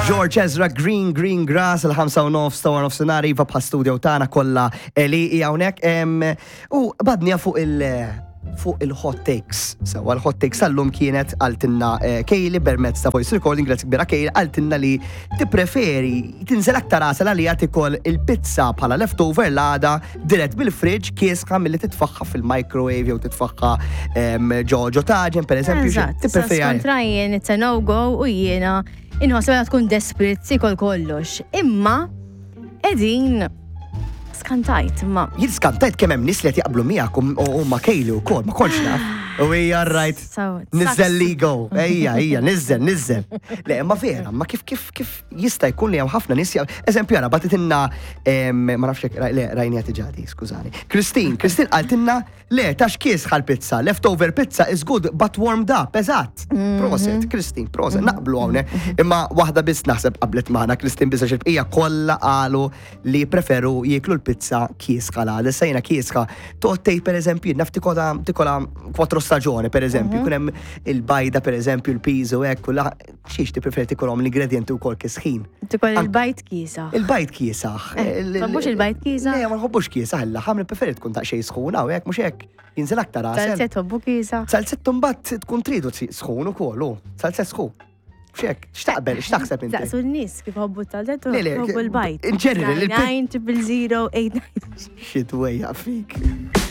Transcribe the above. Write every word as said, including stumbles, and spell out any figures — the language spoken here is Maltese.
George Ezra, Green Green Grass, il-ħamsa u nofs ta' nofsinhar, iva, bħal studio tagħna kollha li hija hawnhekk. Em, U badnija fuq il- fuq il-hot takes. Sewa l-hot takes tal-lum kienet qaltilna eh, Kaylee permezz ta' voice recording, grazzi kbira Kaylee, qaltilna li tippreferi tinżel aktar għasel għalija tikol il-pizza bħala leftover l-għada dirett bil-fridge kiesħa milli titfagħha fil-microwave jew titfagħha em, ġo ġo taġen, per eżempju. Eżatt, Tippreferi kontra jien, it's a no-go u jiena inħoss meta tkun desperate tikol kollox. Imma edin skantajt, ma Jien skantajt kemm hemm nies li qed jaqblu miegħek u u ma' Kaylee wkoll, ma kontx naf. U hija right. So, it Nizzel sucks. Ligo. Ejja, ejja, nizzel, nizzel. Le, ma vera, ma kif kif kif jista' jkun li hemm ħafna nies jaq- Eżempju, ara bagħtitilna em, ma nafx jekk le rajni ġadi, skużani. Christine, Christine qaltilna le tax kiesħa l-pizza, leftover pizza is good but warmed up, eżatt. Prosit, Christine, prosit, naqblu hawnhekk. Imma waħda biss naħseb qablet magħna Christine biss għax il-bqija kollha qalu li preferu jieklu l-pizza kiesħa la. Issa jiena kiesħa. Toqgħod per eżempju, naf tikola tikola quattro stagione per eżempju, kun hemm il-bajda per eżempju, il-piż u hekk, u la xiex tippreferi tikolhom l-ingredienti wkoll kisħin. Tikol il-bajd kiesaħ. Il-bajd kiesaħ. Eh, tħobbux il-bajd kiesaħ? Le, ma nħobbux kiesaħ, il-laħam nippreferi tkun daqsxejn sħuna u hekk, mhux hekk. Jinżel aktar għasel. Zalzett tħobbu kiesaħ. Zalzett mbagħad tkun tridu sħun ukoll, u zalzett sħun. Xek, x'taqbel, x'taħseb inti? Saqsu n-nies kif ħobbu zalzett u Le, le, ħobbu l-bajd. in general, il- nine triple zero eight nine. Xi dwejja fik.